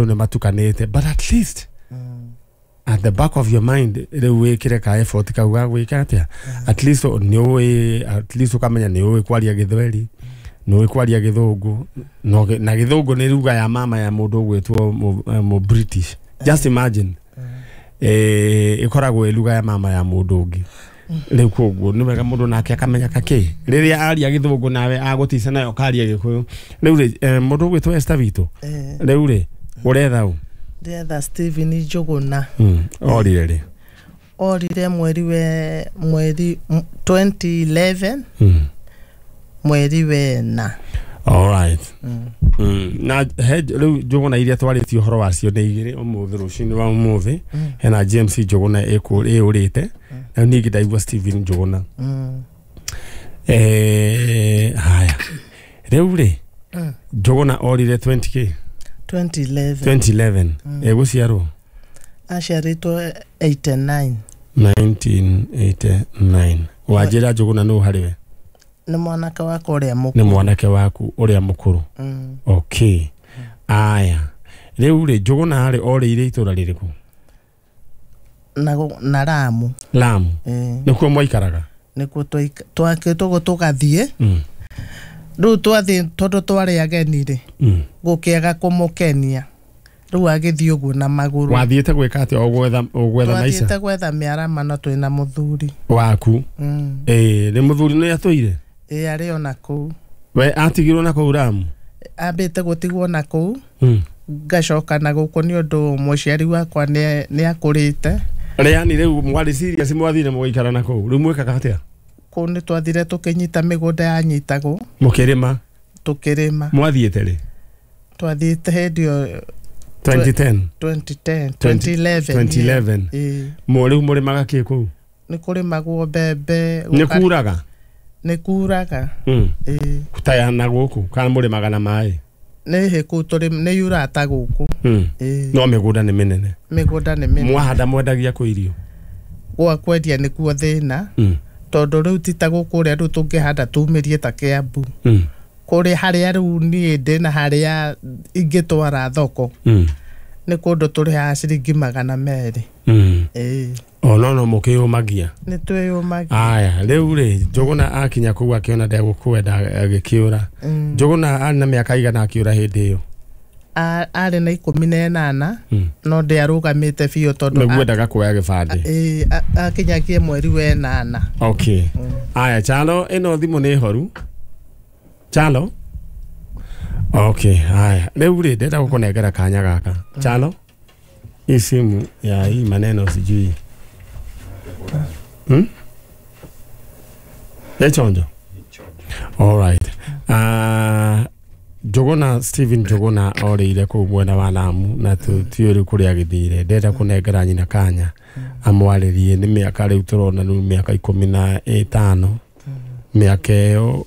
Andũ nĩ matukanĩte, but at least at the back of your mind rĩu wĩkĩre ka effort kau ga gwĩka atĩa, at least nĩ ũĩ, at least ũkamenya nĩ ũĩ kwaria Gĩthweri, nĩ ũĩ kwaria Gĩthũngũ, no na Gĩthũngũ nĩ ruga ya mama ya mũndũ ũgwĩtwo mũ British. Just imagine, ĩkoragwo ĩ ruga ya mama ya mũndũ ũngĩ. Rĩu koguo nĩ wega mũndũ nake akamenya kakĩ rĩrĩa aria Gĩthũngũ nawe agũtica nayo ũkaria Gĩkũyũ. Rĩu rĩ, mũndũ ũgwĩtwo Esther witũ, rĩu rĩ, ũretha ũ? Ndĩretha Steven Njũgũna. Orire rĩ? Orire mweri we mweri 2011, mweri wena. Alright. Na he rĩu Njũgũna iria twarĩtie ũhoro wacio nĩ igĩrĩ ũmũthĩ, rũcinĩ rwa ũmũthĩ. Hena James Njũgũna ĩũrĩte, na ningĩ ndaigua Steven Njũgũna. Haya, rĩu rĩ, Njũgũna orire 20k? 2011. 2011. Ĩgũciarwo? Aciarĩtwo 89. 1989. Wanjĩra Njũgũna nũ harĩ we? Nĩ mwanake wakwa ũrĩa Nĩ mũkũrũ. Mwanake waku ũrĩa mũkũrũ. Okay, aya, rĩu rĩ, Njũgũna rĩ, orĩire itũra rĩrĩkũ? Na Ramu. Lamu? Eh. Nĩkuo mwaikaraga? Nĩkuo twakĩtwo tũgathiĩ. Rĩu twathiĩ, tondũ twarĩ ageni rĩ, gũkĩaga kũmũkenia, rĩu agĩthiĩ ũguo na magũrũ. Wathiĩte gwĩka atĩa? O gwetha, o gwetha maica? Twathiĩte gwetha mĩaramano twĩna mũthuri. Waku? Ĩĩ, nĩ mũthuri nĩ atũire? Ĩ, arĩ ona kũu. We atigirwo na kũu Ramu? Ambĩte gũtigwo na kũu, ngacoka na gũkũ nĩ ũndũ mũciari wakwa nĩ akũrĩte. Rĩani rĩu mwarĩ serious, mwathire mũgĩikara na kũu, rĩu mwĩkaga atĩa? Kũu nĩ twathire tũkĩnyita mĩgũnda yanyitagwo. Mũkĩrĩma? Tũkĩrĩma. Mwathiĩte rĩ? Twathiĩte hĩndĩ ĩyo. 2010? 2010, 2011. 2011. Ĩĩ. Rĩu mũrĩmaga kĩ kũu? Nĩ kũrĩmagwo mbembe. Nĩ kuraga? Nĩ kuraga. Ĩĩ. Taya na gũkũ kana mũrĩmaga na maĩ? Nĩ hĩ kũu tũrĩ nĩ yurata gũkũ. Ĩĩ. No mĩgũnda nĩ mĩnene? Mĩgũnda nĩ mĩnene. Mwahanda mwendagia kũ irio? Gwa kwendia nĩkuo thĩna, tondũ rĩu ti ta gũkũ ũrĩa rĩu tũngĩhanda tumĩrie ta Kĩambu. Kũrĩ harĩa rĩu niĩ ndĩ na harĩa ingĩtwara thoko, nĩ kũndũ tũrĩhaga ciringi 200. Ĩĩ. O no mũkĩyũmagia? Nĩ twĩyũmagia. Aya, rĩu rĩ, Njũgũna akinya kũu akĩona ndegũkwenda agĩkĩũra. Njũgũna arĩ na mĩaka igana akĩũra hĩndĩ ĩyo? Arĩ na 18. No ndĩarũgamĩte biũ tondũ Nĩguo endaga kuoya gĩbandĩ. Ĩĩ, akinyagie mweri wenana. Okay, aya, Chalo, ĩno thimũ nĩ horu, Chalo. Okay, haya, rĩu rĩ, ndĩrenda gũkũnengera kanya gaka, Chalo. Hii simu ya hii maneno sijui, Echonjo. Alright. Njũgũna, Steven Njũgũna orĩire kũu mwena wa Lamu na tutiũĩ rĩu kũrĩa agĩthire. Ndĩrenda kũnengera nyina kanya amwarĩrie. Nĩ mĩaka rĩu tũrona rĩu mĩaka 15, mĩaka ĩyo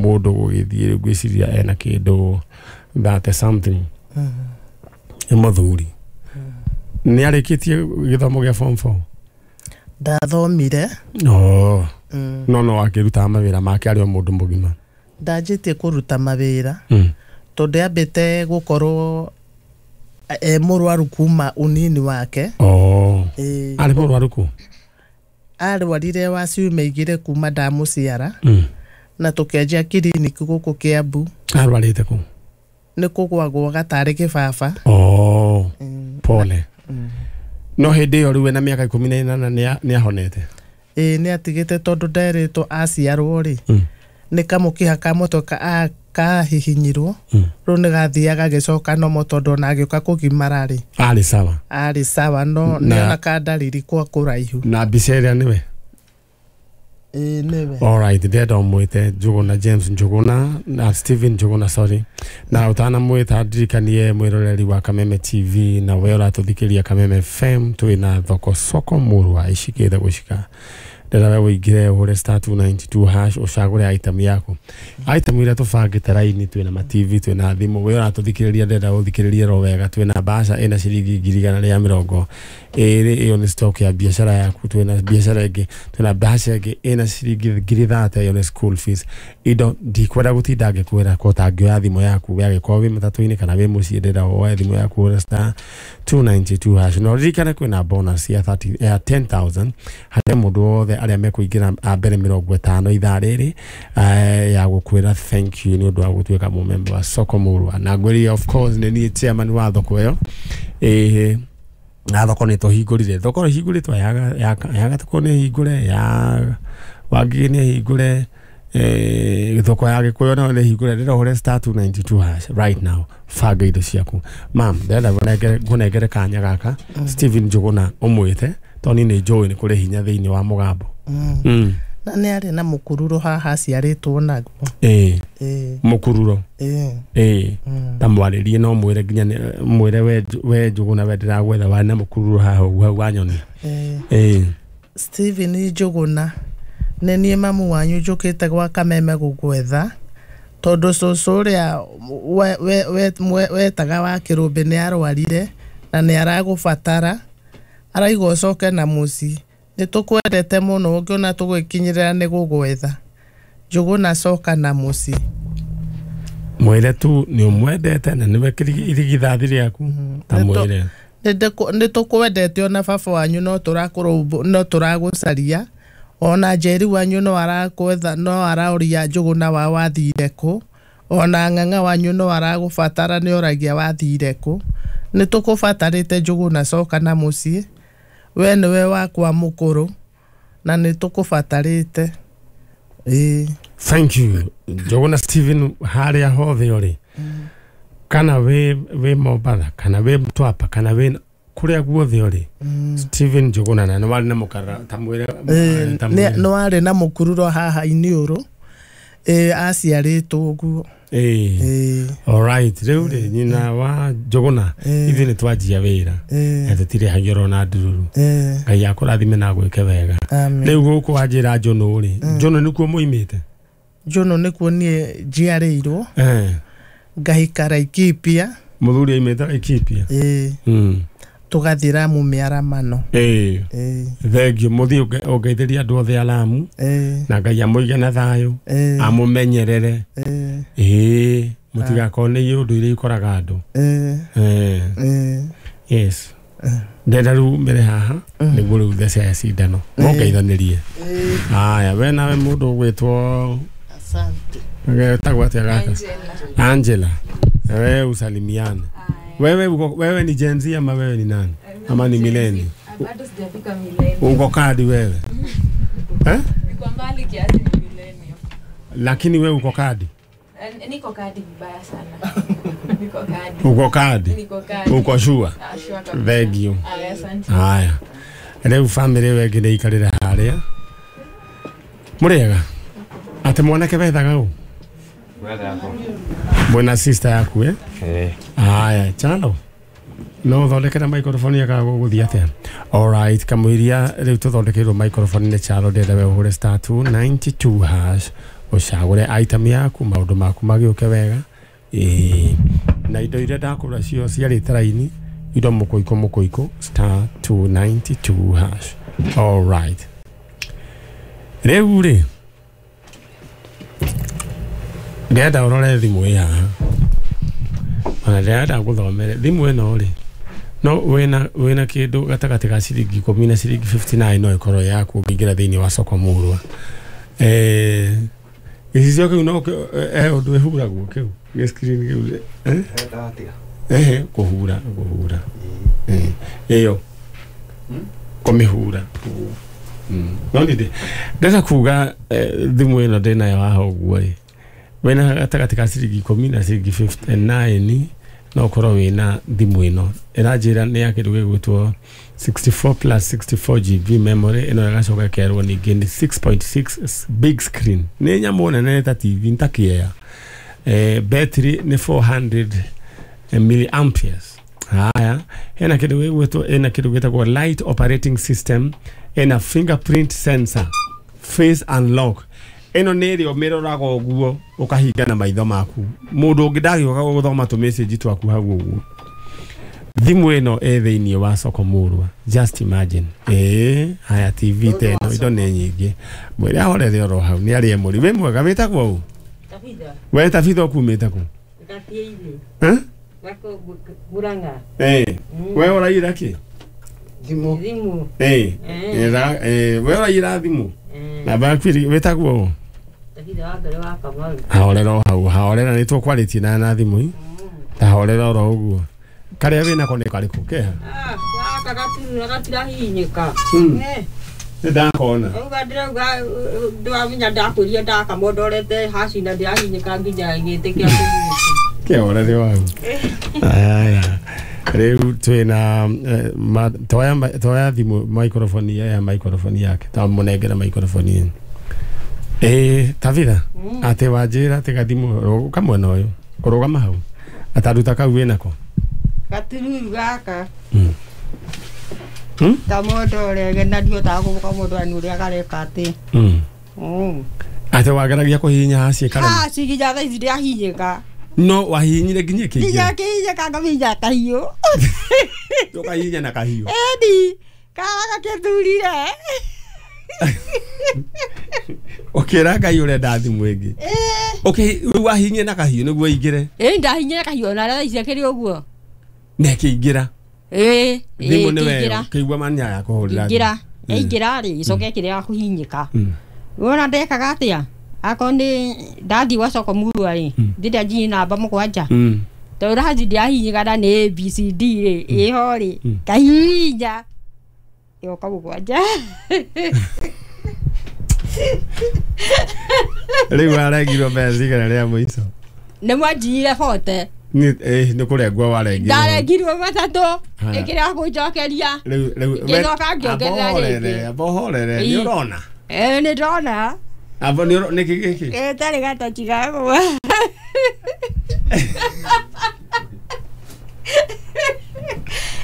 mũndũ gũgĩthiĩ rĩu ngwĩciria ena kĩndũ 30 something. Nĩ mũthuri, nĩ arĩkĩtie gĩthomo gĩa form 4? Ndathomire. Oh. No akĩrutaga mawĩra make arĩ o mũndũ mũgima? Ndanjĩtie kũruta mawĩra tondũ ambĩte gũkorwo e mũrwaru kuma unini wake. Oh. Ĩĩ. Arĩ mũrwaru kũ? Arwarire wa ciumia 2 kuma ndamũciara, na tũkĩanjia kiriniki gũkũ Kĩambu. Arwarĩte kũ? Nĩ kũgwagwo gatarĩ kĩbaba. Oh. Pole. No hĩndĩ ĩyo rĩu ena mĩaka 18 nĩ ahonete? Ĩĩ, nĩ atigĩte tondũ nderĩtwo aciarwo rĩ, nĩ kamũkiha ka mũtwe kahihinyirwo. Rĩu nĩ gathiaga gagĩcoka nomo, tondũ ona agĩũka kũgimara rĩ, Arĩ sawa? Arĩ sawa, no nĩona ka ndariri kwa kũraihu. Na mbica ĩrĩa nĩwe? Ĩĩ, nĩwe. Alright, ndĩrenda ũmwĩte Njũgũna James Njũgũna na Steven Njũgũna, sorry. Na ũtanamwĩta, ndirikanie mwĩroreri wa Kameme TV na we ũratũthikĩria Kameme FM, twĩna thoko soko mũrwa icikĩte gũcika. Ndĩrenda we ũingĩre ũhũre *292 hash ũcagũre item yaku. Item iria tũbangĩte raini, twĩna ma TV, twĩna thimũ. We ũratũthikĩrĩria, ndĩrenda ũthikĩrĩrie ro wega. Twĩna mbaca ĩna ciringi 120,000, ĩyo nĩ stock ya biacara yaku. Twĩna biacara ĩngĩ, twĩna mbaca ĩngĩ ĩna ciringi 30,000, ĩyo nĩ school fees. Indo ndikwenda gũtinda ngĩkwĩra ko tangĩoya thimũ yaku we angĩkorwo wĩ matatũ-inĩ kana wĩ mũciĩ, ndĩrenda woe thimũ yaku ũhũre *292 hash. Na ũririkane kwĩna bonus ya 30 ya 10,000 harĩ mũndũ wothe arĩa mekũingĩra a mbere 50 ithaa rĩrĩ, ya gũkwĩra thank you nĩ ũndũ wa gũtuĩka mũmemba wa Soko Murwa. Na ngwĩrire of course nĩ niĩ chairman wa thoko ĩyo. Na thoko nĩ tũhingũrire, thoko ĩhingũrĩtwo ya Gatũkũ nĩ hingũre, ya Wangigĩ nĩ hingũre, thoko ya Gĩkũyũ nayo nĩ hingũre. Ndĩrenda ũhũre *292 hash right now, banga indo ciaku. Mam, ndĩrenda ngũnengere kanya gaka Stephen Njũgũna ũmwĩte, tondũ niĩ nĩ njũĩ nĩ kũrĩ hinya thĩinĩ wa mũgambo. Na nĩ arĩ na mũkururo haha aciarĩtwo naguo. Mũkururo. Ta mwarĩrie no mwĩre nginya mwĩre we Njũgũna, we ndĩragwetha warĩ na mũkururo haha ũguo hau wanyonia. Stephen Njũgũna, nĩ niĩ mamu wanyu njũkĩte gwa Kameme gũgwetha, tondũ cũcũ ũrĩa wetaga wa kĩrũmbĩ nĩ arwarire na nĩ aragũbatara, araiga ũcoke na mũciĩ. Nĩ tũkwendete mũno, ũngĩona tũgwĩkinyĩrĩra nĩ gũgwetha. Njũgũna coka na mũciĩ. Mwĩre tu nĩ ũmwendete na nĩwe irigithathi rĩaku, ta mwĩre nĩ tũkwendete ona baba wanyu no tũragũcaria, ona Njeri wanyu no arakwetha, no araũria Njũgũna wa wathire kũ, ona ng'ang'a wanyu no aragũbatara nĩ oragia wathire kũ. Nĩ tũkũbatarĩte Njũgũna, coka na mũciĩ, we nĩwe wakwa mũkũrũ na nĩ tũkũbatarĩte. Thank you Njũgũna Stephen, harĩa hothe ũrĩ, kana wĩ Mombatha, kana wĩ Mtwapa, kana wĩ kũrĩa guothe ũrĩ, Stephen Njũgũna na nĩ warĩ na mũkara, ta mwĩre. Nĩ warĩ na mũkururo haha iniũrũ, aciarĩtwo ũguo. Alright, rĩu rĩ nyina wa Njũgũna, ithuĩ nĩ twanjia wĩra na tũtirĩhagio oro na ndururu. Ngai akũrathime na agwĩke wega. Rĩu gũkũ wanjĩra Njũnũ rĩ, Njũnũ nĩkuo mũimĩte? Njũnũ nĩkuo niĩ njiarĩirwo, ngahika Laikipia. Mũthuri aimĩte Laikipia? Tũgathiĩ Lamu mĩaramano. Thengio, mũthiĩ ũngeithĩrie andũ othe a Lamu, na Ngai amũige na thayũ, amũmenyerere. Mũtigakorwo nĩ ũndũ iria ikoraga andũ. Yes. Ndenda rĩu mbere haha nĩguo rĩu thece ya cindano mũngeithanĩrie. Haya, we nawe mũndũ ũgwĩtwo Asante. Etagwo atĩa gaka? Angela. Wewe usalimiane. Wewe ni Gen Z ama wewe ni nani? Ama ni millennial? Bado sijafika millennial. Uko kadi wewe? Niko mbali kiasi ni millennial. Lakini wewe uko kadi? Niko kadi vibaya sana. Niko kadi. Uko kadi? Niko kadi. Uko sure? Sure kabisa. Thank you. Asante. Haya. Rĩu family ĩyo ĩngĩ nĩ ikarĩre harĩa. Mũrĩega? Atĩ mwanake wethaga ũ? Mwena sister yaku eh? Haya, chalo. No thondekera microphone ya gũgũthiĩ atĩa? Alright, kamũiria rĩu tũthondekeirwo microphone nĩ Chalo, ndĩrenda we ũhũre *292 hash ũcagũre item yaku, maũndũ maku magĩũke wega. Na indo iria ndakũra cio ciarĩte raini, indo mũkũikũ mũkũikũ *292 hash. Alright. Rĩu rĩ ndĩrenda ũrore thimũ ĩ haha, ona ndĩrenda ngũthomere thimũ ĩno rĩ, no wĩna kĩndũ gatagatĩ ga ciringi 10 na ciringi 59 no ĩkorwo yaku ũngĩingĩra thĩinĩ wa Soko Murwa. Gĩcicio kĩu no ũndũ ĩhuragwo kĩu gĩ screen kĩu kũhura ĩyo kũmĩhura. No nĩ ndĩrenda kuga thimũ ĩno ndĩnayo haha ũguo rĩ, wĩna gatagatĩ ka ciringi 10 na ciringi 59 no ũkorwo wĩna thimũ ĩno ĩranjĩra nĩ ya kĩndũ gĩgwĩtwo 64 plus 64 GB memory. Ĩno ĩgacoka ĩkerwo ningĩ nĩ 6.6 big screen, nĩ nyamũ nene ta TV, ta kĩea. Battery nĩ 400 milliamperes. Haya, hena kĩndũ gĩgwĩtwo, ĩna kĩndũ gĩtagwo light operating system, Ĩna fingerprint sensor, face unlock. Ĩno nĩ ĩrĩa ũmĩroraga ũguo ũkahinga na maitho maku. Mũndũ ũngĩ ndagĩũka gũthoma tũ message twaku hau ũguo. Thimũ ĩno ĩ thĩinĩ wa soko mũrwa. Just imagine. Haya TV ta ĩno indo nĩ nyingĩ. Mwĩre ahorere oro hau nĩ arĩe mũri. Wĩ mwega wĩtagwo ũ? Tabitha. We Tabitha ũkumĩte kũ? Gatiainĩ. Gako Murang'a. We ũraira kĩ? Thimũ. Thimũ. We ũraira thimũ. Na bakwiri wĩtagwo ũ? Tabitha wa Ngarĩ wa Kamau. Ahorera o hau, ahorera nĩ tũkwarĩtie na thimũ. Tahorera oro ũguo. Karĩa wĩnako nĩ karĩkũ keha? Gaka gatirahihinyĩka. Nĩ ndakona. Auga ndĩrauga ndĩramenya ndakwĩria ndakamondorete haci na ndĩrahihinyĩka nginya gĩtĩ kĩa kũhihinyĩka. Kĩhorere wau. Aya. Rĩu twĩna toya thimũ microphone ya microphone yake. Ta mũnengere microphone ĩno. Tabitha, atĩ wanjĩra atĩ gathimũ kamwena ũyũ kũrũgama hau. Ataruta kau wĩnako. Gatiruru gaka. Kamondorege na ndihotaga gũkamondora nĩ ũrĩa gareka atĩ. Atĩ wageragia kũhihinya haci ĩkarema. Haci nginya thaa ici ndĩrahihinyĩka. No wahihinyire nginya ĩkĩingĩra. Nginya ĩkĩhihinyĩka ngamihinya kahiũ. Ũkahihinya na kahiũ. Ĩni, kara gakĩthurire. Ũkĩra Ngai ũrenda thimũ ĩngĩ. Rĩu wahihinyire na kahiũ nĩguo ĩingĩre. Ndahihinyire kahiũ na thaa ici ĩkĩrĩ ũguo. Na ĩkĩingĩra. Thimũ nĩ we ũkĩigua mani ya kũhũrĩra. Ingĩra. Ĩingĩra rĩ, ĩcoke ĩkĩrega kũhihinyĩka. Wona ndekaga atĩa? Akorwo nĩ ndathiĩ gwa soko mũrua rĩ, ndĩrĩa njiĩ namba 7. Tondũ haci ndĩrahihinyĩka na nĩ A B C D rĩ, ĩho rĩ, kahihinya ĩgoka 7. Rĩu warengirwo mbeca cigana rĩa mũico? Nĩ mwanjiyire 40. Nĩ kũrengwo warengirwo. Ndarengirwo 3 ĩkĩrega kũnjokeria. Rĩu ngĩcoka ngĩongerera rĩngĩ. Amba ũhorere, nĩ ũrona? Nĩ ndona. Amba nĩ kĩ gĩkĩ? Tarĩ gatochi gakwa.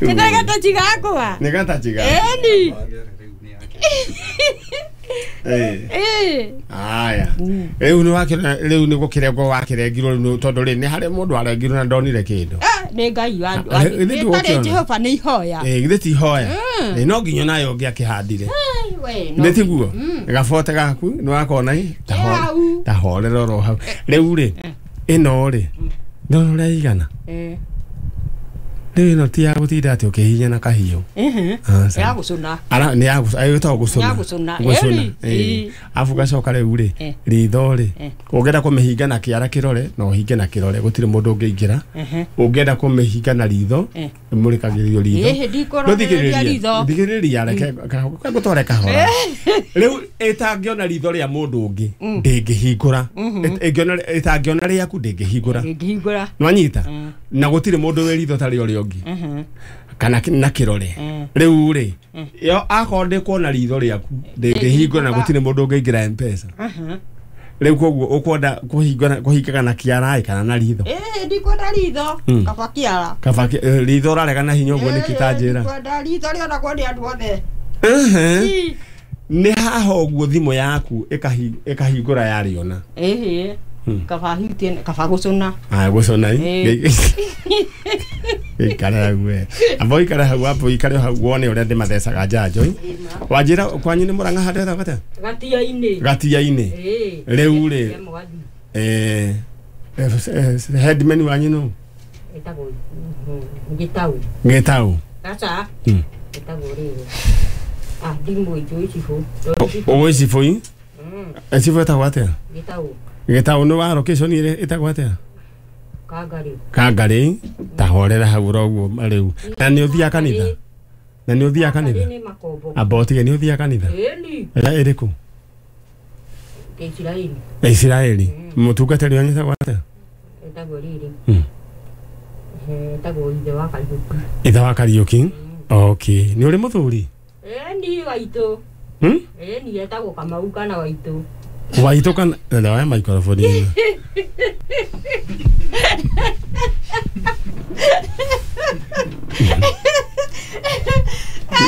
Nĩ tarĩ gatochi gakwa. Nĩ gatachi gakwa. Ĩni. Aya. Rĩu nĩ wakĩona rĩu nĩ gũkĩrengwo wakĩrengirwo tondũ rĩ nĩ harĩ mũndũ arengirwo na ndonire kĩndũ. Nĩ Ngai wa tarĩ Jehova nĩ ihoya. Githĩ ti ihoya. No nginya nayo ũngĩakĩhandire. Nĩ tiguo? Gabote gaku nĩ wakona ĩ tahorera oro hau. Rĩu rĩ ĩno rĩ ndona ũrĩa ĩigana. Rĩu ĩno ti ya gũtinda atĩ ũkĩhihinya na kahiũ. Ya gũcũna. Ara nĩ ya gũcũna. Gũcũna. Arabu gacoka rĩu rĩ ritho rĩ ũngĩenda kũmĩhinga na kĩara kĩrore no ũhinge na kĩrore gũtirĩ mũndũ ũngĩingĩra. Ũngĩenda kũmĩhinga na ritho ĩmũrĩkagĩrio ritho. Thikĩrĩria reke ngũtware kahora. Rĩu ĩtangĩona ritho rĩa mũndũ ũngĩ ndĩngĩhingũra. Ĩtangĩona rĩaku ndĩngĩhingũra. Nĩwanyita? Na gũtirĩ mũndũ wĩ ritho ta rĩa ũrĩa ũngĩ. Kana na kĩrore. Rĩu rĩ yo akorwo ndĩkuona ritho rĩaku ndĩngĩhingũra na gũtirĩ mũndũ ũngĩingĩra M-Pesa. Rĩu koguo ũkwenda kũhingaga na kĩara kana na ritho? Ndikwenda ritho, kaba kĩara. Kaba ritho ũrarega na hinya ũguo nĩkĩ ta njĩra? Ndikwenda ritho rĩonagwo nĩ andũ othe. Nĩ haha ũguo thimũ yaku ĩkahingũra yarĩona. Kaba hutie kaba gũcũna. Aya gũcũna ĩ. Ikare hau we. Amba ũikare hau amba ũikare hau wone ũrĩa ndĩmathecaga njanjo. Wanjĩra kwanyu nĩ Mũrang'a handũ hetagwo atĩa? Gatia-inĩ. Gatia-inĩ. Rĩu rĩ headman wanyu nũ? Etagwo Gĩtau. Gĩtau. Aca. Etagwo rĩrĩ. Ndimũ njũĩ cibũ. Ũĩ cibũ ĩ? Cibũ etagwo atĩa? Gĩtau. Gĩtau nĩ wa location ĩtagwo atĩa? Kangarĩ. Kangarĩ tahorera hau ũguo rĩu. Na nĩ ũthiaga kanitha? Na nĩ ũthiaga kanitha? Amba ũtige nĩ ũthiaga kanitha? Ĩni. Ĩrĩa ĩrĩkũ? Isiraeli. Isiraeli. Mũtungatĩri wanyu etagwo atĩa? Etagwo rĩrĩ. Etagwo ithe wa Kariũki. Ithe wa Kariũki? Okay. Nĩ ũrĩ mũthuri? Ĩni waitũ. Ĩni etagwo Kamau kana Waitũ. Waitũ kana ndawa microphone ĩno.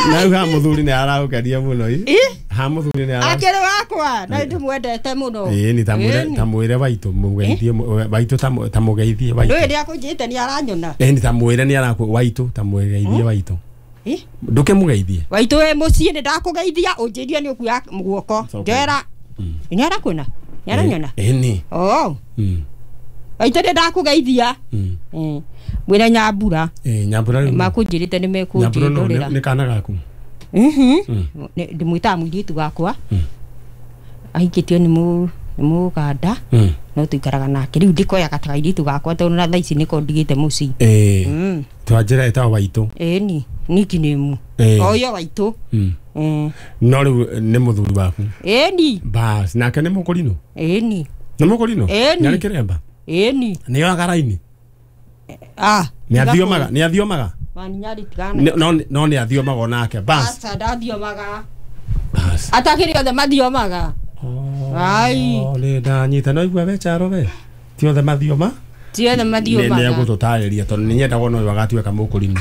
Na ha muthuri ni araukaria muno i. Ha muthuri ni ara. Akere wakwa na ndimwendete muno. Ii ni tamwire waitu mugeithie waitu tamugeithie waitu. Ndũĩ rĩa kũnjĩte ni aranyona. Ii ni tamwire ni araku waitu tamugeithie waitu. Nduke mugeithie. Waitu we muciĩ ni ndakugeithia unjĩrie ni ũkuoya guoko. Njoera. Ni arakuona? Ni aranyona? Ii ni. Oh. Waitu ni ndakugeithia. Mwira Nyambura. Nyambura rĩu. Makunjĩrĩte nĩ mekũnjĩndũrĩra. Nĩ kana gaku. Ndimwĩtaga mũirĩtu wakwa. Ahikĩtio nĩ mũganda. No tuikaraga nake. Rĩu ndikoyaga ta kairĩtu gakwa tondũ na thaa ici nĩko ndigĩte mũciĩ. Twanjĩra ĩtagwo Waitũ. Ĩni, nickname. Oyo Waitũ. No rĩu nĩ mũthuri waku. Ĩni. Bas, nake nĩ mũkũrinũ? Ĩni. Nĩ mũkũrinũ? Ĩni. Nĩ kĩremba? Ĩni. Nĩ oyaga raini? Nĩ athiomaga? No nĩ athiomaga onake. Bas. Aca ndathiomaga. Bas. Atakĩrĩ othe mathiomaga. Ai. Nĩ ndanyita no igua we Charo we. Ti othe mathioma? Ti othe mathiomaga. Nĩ egũtũtarĩria tondũ nĩ nyendaga ona ũyũ agatuĩka mũkũrinũ.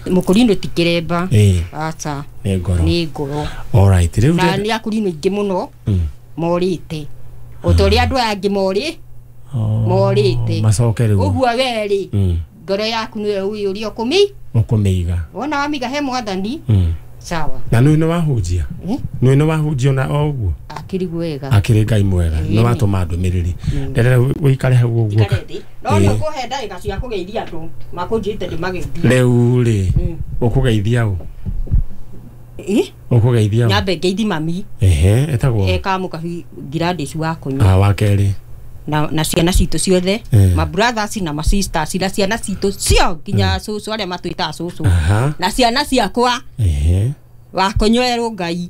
Mũkũrinũ ti kĩremba. Aca. Nĩ ngoro. Nĩ ngoro. All right. Rĩu na nĩ akũrinũ aingĩ mũno morĩte. O ta ũrĩa andũ aya angĩ morĩte. Macoke rĩu. Ũguo we rĩ ngoro yaku nĩwe ũĩ ũrĩa ũkũmĩiga. Wona wamiga he mwathani. Sawa. Na nĩ wahunjia? Nĩ wahunjia na o ũguo? Akĩrĩ wega. Akĩrĩ Ngai mwega. Nĩ watũma ndũmĩrĩri. Nderera ũikare hau ũguo. No nĩ ũkũhe ndagĩka cia kũgeithia andũ makũnjĩte ndĩmageithie. Rĩu rĩ ũkũgeithia ũ? Ũkũgeithia ũ? Nyambe ngeithi mami. Ehe, etagwo? Eka mũkabi Gladys wa kũnyua. Wa kerĩ. Na ciana citũ ciothe, ma brothers na ma sisters na ciana citũ cio nginya cũcũ arĩa matwĩtaga cũcũ. Na ciana ciakwa. Wakũnyua Ngai.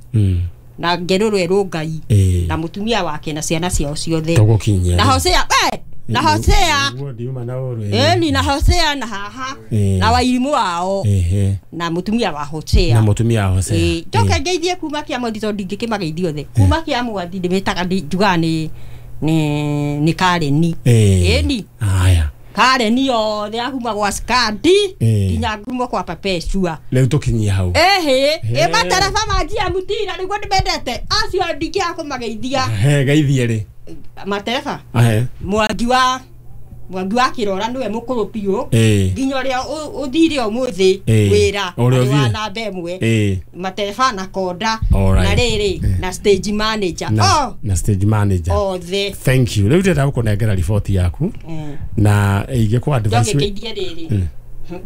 Na ngerũrwo Ngai. Na mũtumia wake na ciana ciao ciothe. Tũgũkinyia. Na Hosea, we! Na Hosea. Ĩni na Hosea na haha. Na wairimũ wao. Na mũtumia wa Hosea. Na mũtumia wa Hosea. Njoke ngeithie kuma kĩa mwathi tondũ ndingĩkĩmageithia othe. Kuma kĩa mwathi ndĩmĩtaga njugaga nĩ Kareni. Ĩni. Haya. Kareni othe akuma gwa Skandi nginya ngumo kwa Perpetua. Rĩu tũkinyie hau. Ehe, ĩ matereba ma njia mutira nĩguo ndĩmendete. Acio ndingĩaga kũmageithia. He geithie rĩ. Matereba. Mwangi wa Kĩrora nĩwe mũkũrũ biũ. Nginya ũrĩa ũthire ũmũthĩ wĩra wa namba ĩmwe. Matereba na konda na rĩrĩ na stage manager. Na stage manager. Othe. Thank you. Rĩu ndĩrenda gũkũnengera riboti yaku. Na ingĩkũ advice. Njoke rĩrĩ.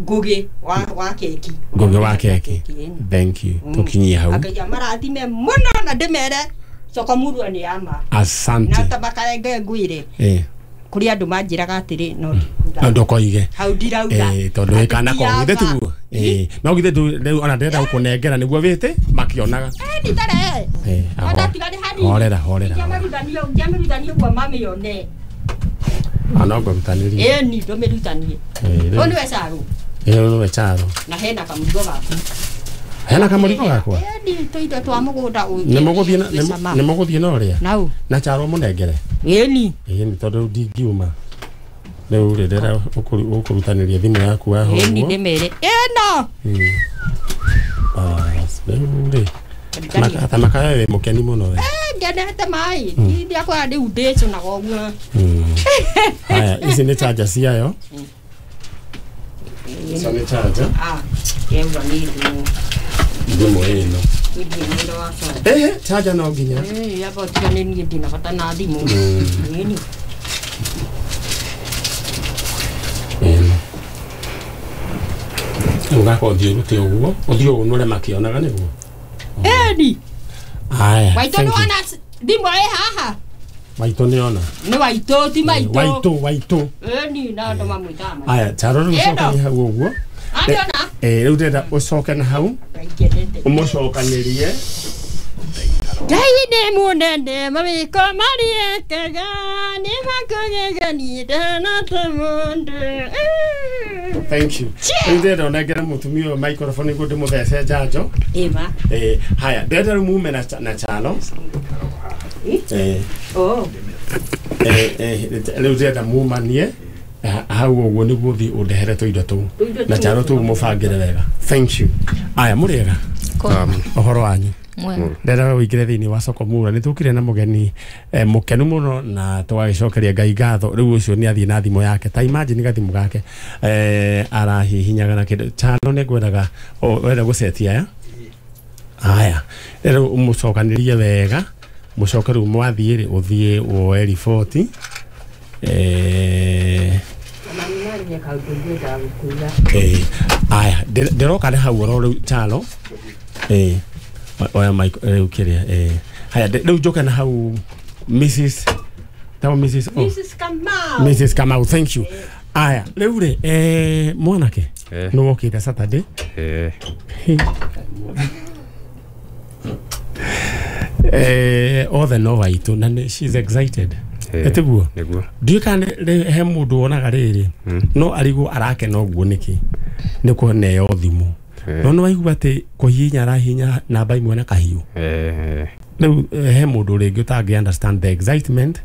Ngugi wa keki. Ngugi wa keki. Thank you. Tũkinyie hau. Ngai marathime mũno na ndĩmere Sokomurua nĩ ama. Asante. Na tabakarenge ngwire. Kuri andũ manjĩraga atĩrĩ no ndũkoige. Hau ndirauga. Tondũ kana ko githĩ tiguo. No githĩ rĩu ona ndĩrenda gũkũnengera nĩguo wĩte makĩonaga. Nditare. Horera horera. Ngĩamĩrutanie ũguo mamĩone. Ana ngũrutanĩrie. Ĩni ndũmĩrutanie. Ũyũ nĩwe Charo. Ũyũ nĩwe Charo. Na hena kamũrigo gaku. Hena kamũrigo gakwa? Ĩni tũindo twa mũgũnda ũyũ. Nĩ mũgũthiĩ na ũrĩa? Nau. Na Charo mũnengere? Ĩni. Ĩni tondũ ndingiuma. Rĩu rĩ ndĩrenda ũkũrutanĩria thimũ yaku haha ũguo. Ĩni ndĩmere. Ĩno. Bas, rĩu rĩ. Ta makaya wĩ mũkeni mũno we. Ngenete maĩ. Ndiakwa rĩu ndĩcũnaga ũguo. Haya, ici nĩ charger ciayo. Ici nĩ charger. Yengwa nĩ thimũ. Thimũ ĩno. Charger no nginya. Yaba ũtigane niĩ ndina bata na thimũ. Ĩni. Ĩno. Ũgaka ũthiĩ ũrute ũguo, ũthiĩ ũnũre makĩonaga nĩguo. Ĩni. Haya. Waitũ nĩ wona thimũ ĩ haha? Waitũ nĩ ona. Nĩ Waitũ ti maitũ. Waitũ. Ĩni na andũ mamwĩtaga maitũ. Haya, Charo rĩu ũcokanie hau ũguo. Andĩona? Rĩu ndĩrenda ũcoke na hau. Ũmũcokanĩrie. Ngai nĩ mũnene mawĩko marĩa ekaga nĩ makũgegania ndahana ta mũndũ. Thank you. Rĩu ndĩrenda ũnengere mũtumia ũyũ microphone nĩguo ndĩmũthece njanjo. Ĩma. Haya, ndĩrenda rĩu mume na Charo. Rĩu ndĩrenda mumanie. Hau ũguo nĩguo ũthiĩ ũndehere tũindo tũu na charo tũu mũbangĩre wega. Thank you. Aya mũrĩega ũhoro wanyu. Ndĩrenda wĩingĩre thĩinĩ wa soko mura nĩ tũkire na mũgeni mũkenu mũno na tũgagĩcokeria Ngai ngatho. Rĩu ũcio nĩ athiĩ na thimũ yake, ta imagine gathimũ gake arahihinyaga na kĩndũ chano nĩ ngwendaga wenda gũcetia aya. Aya rĩu ũmũcokanĩrie wega, mũcoke rĩu mwathiĩ rĩ ũthiĩ woe riboti. Aya ndĩroka nĩ hau oro rĩu chalo. Oya mic rĩu kĩrĩa. Haya rĩu njoke na hau Mrs. Tao Mrs. Oh. Mrs. Kamau. Mrs. Kamau, thank you. Aya rĩu rĩ mwanake nĩ wokĩte Saturday. Othe no waitũ na she's excited. Etiguo ndiũ kana he mũndũ wonaga rĩrĩ no arigwo arakena ũguo nĩkĩ nĩ kũneo thimũ no nĩ waigua atĩ kũhihinya arahihinya namba imwe na kahiũ. Rĩu he mũndũ rĩngĩ ũtangĩ understand the excitement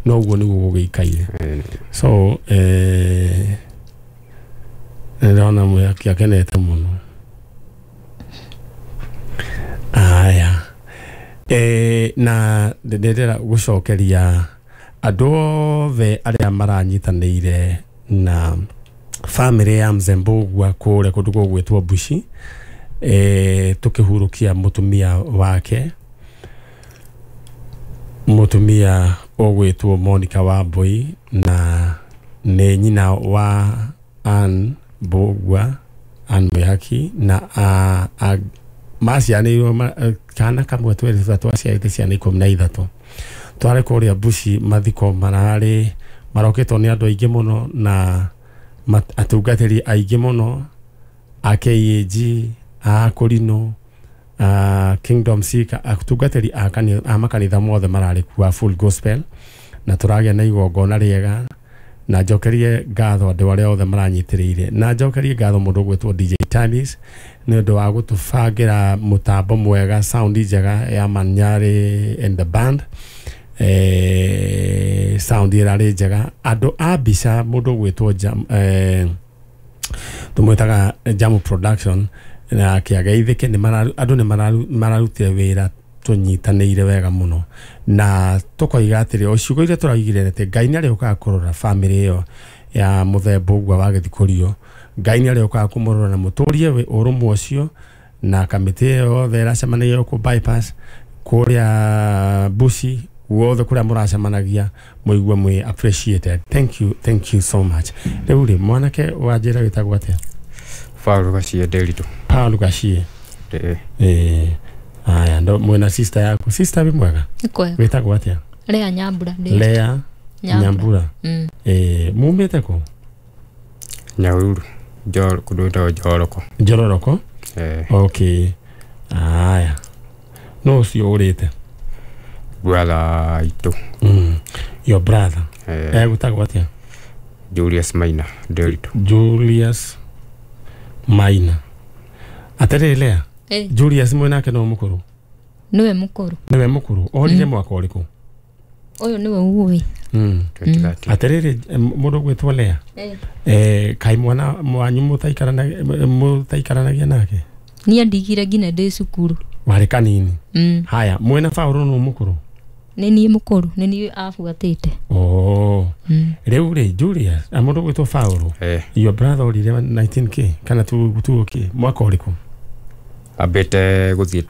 no ũguo nĩguo gũgĩikaire. So ndĩrona mwĩhaki akenete mũno. Aya na ndĩrenda gũcokeria andũ othe arĩa maranyitanĩire na family ya Mzembogwa kũrĩa kũndũ gũgwĩtwo Bushi, tũkĩhurũkia mũtumia wake, mũtumia ũgwĩtwo Monica Wambui, na nĩ nyina wa Ann Mbugua, Ann Mwihaki, na macianĩirwo kana kamwe twĩrĩ twaciarĩte ciana 13. Twarĩ kũrĩa Bushi mathiko mararĩ marokĩtwo nĩ andũ aingĩ mũno na atungatĩri aingĩ mũno a KAG, a Korino, a Kingdom Seeker, atungatĩri a makanitha mothe mararĩ kuo a Full Gospel, na tũragĩa na igongona rĩega. Na njokerie ngatho andũ arĩa othe maranyitĩrĩire, na njokerie ngatho mũndũ ũgwĩtwo DJ Tanis nĩ ũndũ wa gũtũbangĩra mũtambo mwega, sound njega ya Manyari and the band. Sound ĩrarĩ njega. Andũ a mbica mũndũ ũgwĩtwo tũmwĩtaga Jamu Production na kĩageithĩke, andũ nĩ mararutire wĩra tũnyitanĩire wega mũno, na tũkoiga atĩrĩ o ciugo iria tũraigire atĩ Ngai nĩ arĩũkaga kũrora family ĩyo ya mũthemba ũguo wa gĩthikũrio. Ngai nĩ arĩũkaga kũmũrora na mũtũrie ũrũmwe ũcio, na kamĩtĩ ĩyo yothe ĩracemanagia gũkũ bypass kũrĩa Bushi guothe kũrĩa mũracemanagia mũigue mwĩ appreciated. Thank you, thank you so much. Rĩu rĩ mwanake wa njĩra wĩtagwo atĩa? Paul Gachie Nderitu. Paul Gachie. Aya ndo mwena sister yaku. Sister wĩ mwega? Wĩtagwo atĩa? Lea Nyambura. Lea Nyambura. Mumĩte kũ? Nyahururu. Kũndũ gwĩtagwo Njoroko. Njororoko? Okay. Aya no ũcio ũrĩte? Brother itũ. Your brother. Egwĩtagwo atĩa? Julius Maina Nderitu. Julius Maina. Atĩrĩrĩ Lea, Julius mwenake no mũkũrũ? Nĩwe mũkũrũ. Nĩwe mũkũrũ. Orire mwaka ũrĩkũ? Ũyũ nĩwe ũĩ. Atĩrĩrĩ mũndũ ũgwĩtwo Lea, kaĩ mwana wanyu mũtaikaranagia nake? Niĩ ndigire nginya ndĩ cukuru. Warĩ kanini? Haya mwena Paũlũ nũ mũkũrũ? Nĩ niĩ mũkũrũ, nĩ niĩ abuatĩte. Rĩu rĩ Julius, mũndũ ũgwĩtwo Paũlũ, your brother orire 19k kana 2k mwaka ũrĩkũ? Ambĩte gũthiĩ